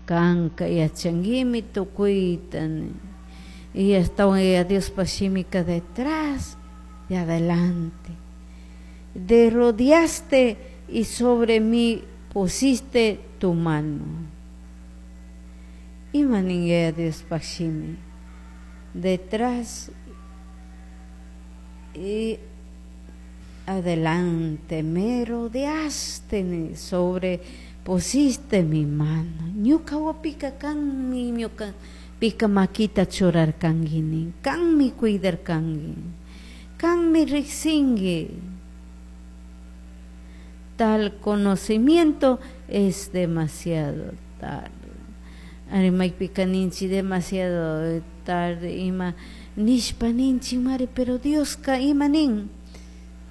Kanka yachanguimi tukuyta y ashtawan Yaya Diospaj shimika detrás y adelante. De rodeaste y sobre mí pusiste tu mano. Ima nin Yaya Diospaj shimi? Detrás y adelante me rodeaste, sobre pusiste mi mano. Ñuka wapika kanmi ñuka pika makita churarkanki nin, kanmi cuidarkanki, kanmi rikshinki. Tal conocimiento es demasiado tarde. Ari maypika ninchik demasiado tarde ima nishpa ninchik mari, pero Dioska ima nin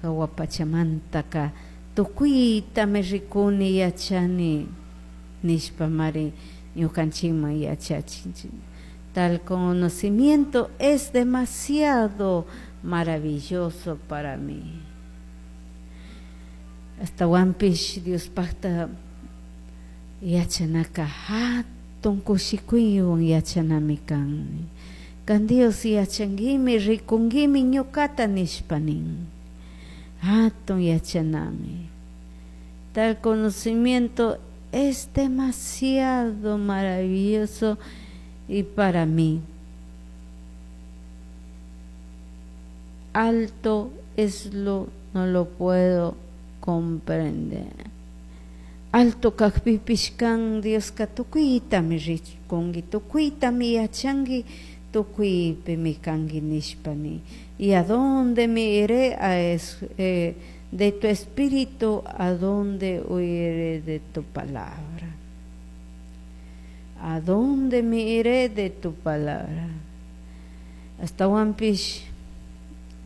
hawa pachamantaka tukuytami rikuni yachani nishpa mari ñukanchikman yachachin. Tal conocimiento es demasiado maravilloso para mí. Ashtawanpish Diospajta yachanaka hatun kushikuywan yachanami kan. Kan Dios yachanguimi, rikunguimi ñukata nishpa nin. Hatun yachanami. Tal conocimiento es demasiado maravilloso y para mí. Alto es lo, no lo puedo comprender. Alto kajpipish kan Dioska tukuytami rikunki, tukuytami yachanki, tukuypimi kanki nishpa nin. Y a dónde me iré a de tu espíritu, a dónde huiré de tu palabra. ¿A dónde me iré de tu palabra? Ashtawanpish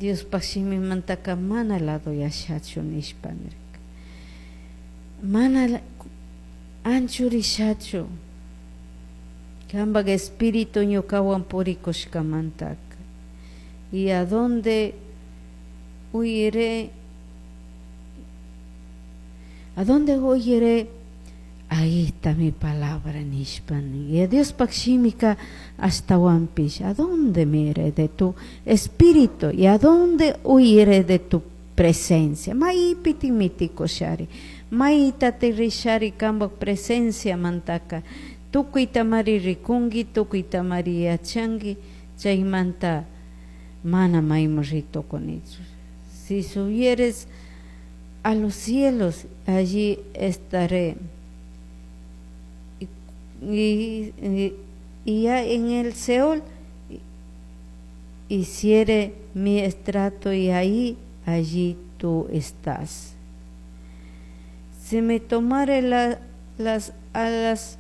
Diospaj shimimantaka mana lado yashachu nishpa nirka. Mana anchurishachu. Kambaj espíritu ñukawan purikushkamantaka. Y a dónde huiré? ¿A dónde huiré? Ahí está mi palabra nishpa nin. Y Diospaj shimika ashtawanpish, ¿a dónde me iré de tu espíritu? ¿Y a dónde huiré de tu presencia? Maypiti mitikushari, maytati rishari kambaj presencia mantaka. Tukuytamari rikunki, tukuytamari yachanki, chaymanta mana mayman ritukunichu. Si subieres a los cielos, allí estaré. Y ya en el Seol hiciere mi estrato y ahí, allí tú estás. Si me tomare las alas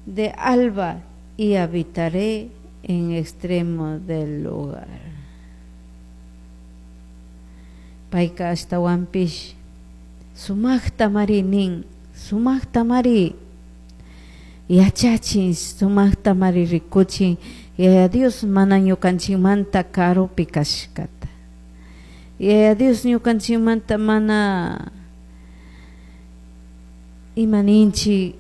de alba y habitaré en extremo del lugar. Payka ashtawanpish sumajta mari nin, sumajta mari yachachin, sumajta mari rikuchin, Yaya Dios mana ñukanchikmanta karupi kashkata. Yaya Dios ñukanchikmanta mana ima ninchik,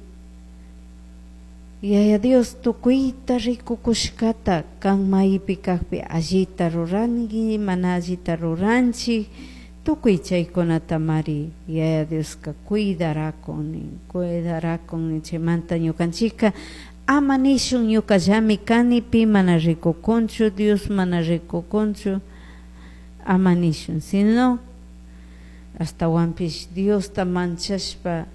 Yaya Dios tukuyta rikukushkata kan maypi kajpi allita ruranki, mana allita ruranchik, tukuy chaykunata mari Yaya Dioska cuidarakun nin, cuidarakun nin. Chaymanta ñukanchikka ama nishun ñukallami kani, pi mana rikukunchu, Dios mana rikukunchu, ama nishun, sino ashtawanpish Diosta manchashpa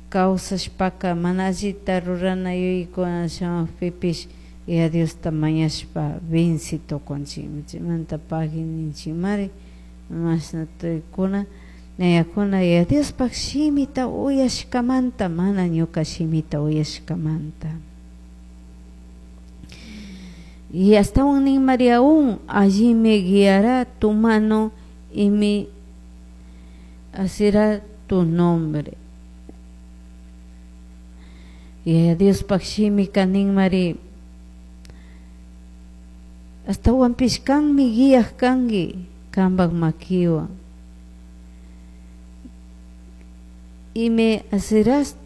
kawsashpaka mana allita rurana yuyaykuna shamukpipish Yaya Diosta mañashpa venci tukunchikmi. Chaymanta pagui ninchikmari mashna tuykuna ñayakuna Yaya Diospaj shimita uyashkamanta, mana ñuka shimita uyashkamanta. Y ashtawan nin María aún, allí me guiará tu mano y me asirá tu nombre. Yaya Diospaj shimika nin Mari, ashtawanpish kanmi guiaj kanki kambaj makiwan. Y me asirás tu